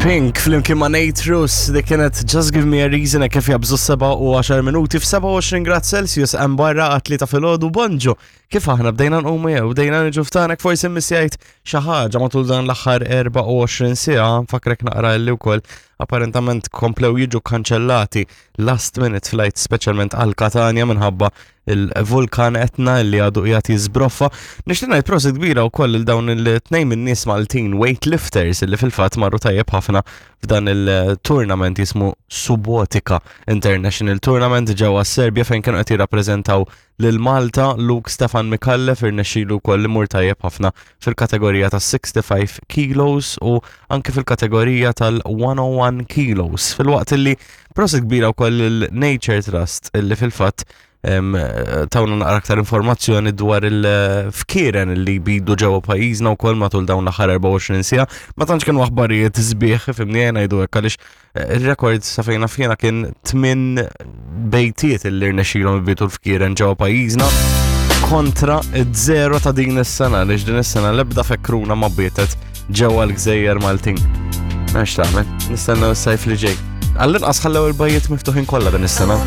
Pink flimkien ma' Nate Russ li kienet Just Give Me a Reason e kif jabżu 7 u 10 minuti f'27 grad Celsius hemm barra għat-tlieta filgħodu bonġu. Kif aħna bdejna nqumu jew bdejna niġu f'tanek forsi missjajt xi ħaġa matul dan l-aħħar 24 siegħa nfakrek naqra li wkoll apparentament komplew jiġu kanċellati last minute flight speċjalment għal Katania minħabba il-vulkan Etna li għadu qiegħed jiżbroffa. Nixtieq ngħid prosit kbira wkoll il dawn il-tnejn min-nies Maltin weightlifters li fil-fatt marru tajjeb ħafna f'dan il-tournament jismu Subotica International Tournament ġewwa s-Serbja fejn kienu qed jirrappreżentaw lil Malta Luke Stefan Micallef irnexxilu wkoll imur tajjeb ħafna fil-kategorija ta' 65 kilos u anke fil-kategorija tal-101 kilos. Fil-waqt li prosit kbira wkoll il-Nature Trust illi fil-fatt tawna naqra aktar informazzjoni dwar il-fkieren li bidu ġewwa pajjiżna wkoll matul dawn l-aħħar 24 siegħa. Ma tantx kienu aħbarijiet sbieħ fimni ngħidu hekk għaliex eh, ir-rekord sa fejn naf jiena kien tmien bejtiet li rnexxilhom ibitu l-fkieren ġewwa pajjiżna kontra id-zero ta' din is-sena għaliex din is-sena l-ebda fekruna ma bietet ġewwa l-gżejjer Maltin. Għax tagħmel, nistennew is-sajf li ġej. Għall-inqas ħallew il-bajjiet miftuħin kollha din is-sena.